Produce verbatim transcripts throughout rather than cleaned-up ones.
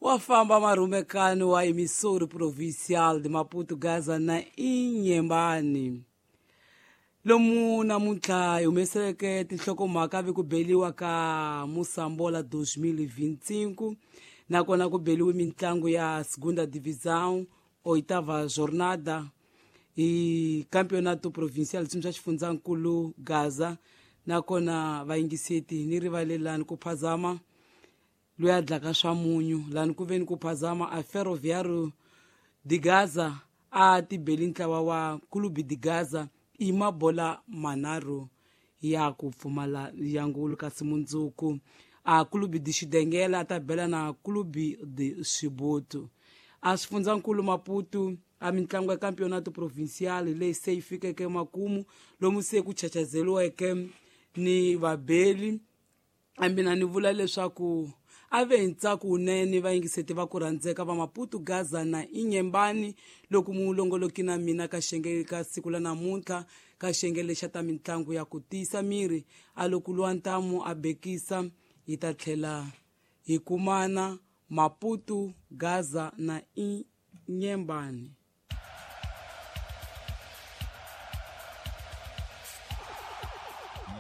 Wa famba marhumekani wa emissora provincial de Maputo, Gaza na Inhambane. Lomu namuntlha hi humeseleke tinhlokomhaka vi ku beliwa ka Moçambola dois mil e vinte e cinco, nakona ku beliwe mitlangu ya Segunda Divisão, oitava jornada hi Campeonato Provincial swimi swa xifundzankulu Gaza. Nakona vayingiseti ni rivalelani ku phazama loyi a dlaka swa munyu lani ku veni ku phazama a Ferroviário de Gaza a tibeli ntlawa wa Clube de Gaza i mabola manharhu ya ku pfumala ya ngulu kasi mundzuku a Clube de Xidengela a ta bela na Clube de Xibutu. A xifundzankulu Maputo a mitlangu ya Campeonato Provincial leyi se yi fikeke makumu lomu se ku chachazeliweke ni vabeli. A mina ni vula leswaku a ve hi ntsako wunene vayingiseti va ku rhandzeka va Maputo, Gaza na Inhambane loko mulongoloki na mina ka xiyenge ka siku la namuntlha ka xiyenge lexa ta mitlangu ya ku tiyisa miri a loko lwa ntamu a bekisa hi ta tlhela hi kumana Maputo, Gaza na Inhambane.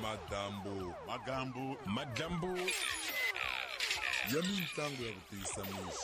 Madambu, Magambu, madambu ya mitlangu ya ku tiyisa miri.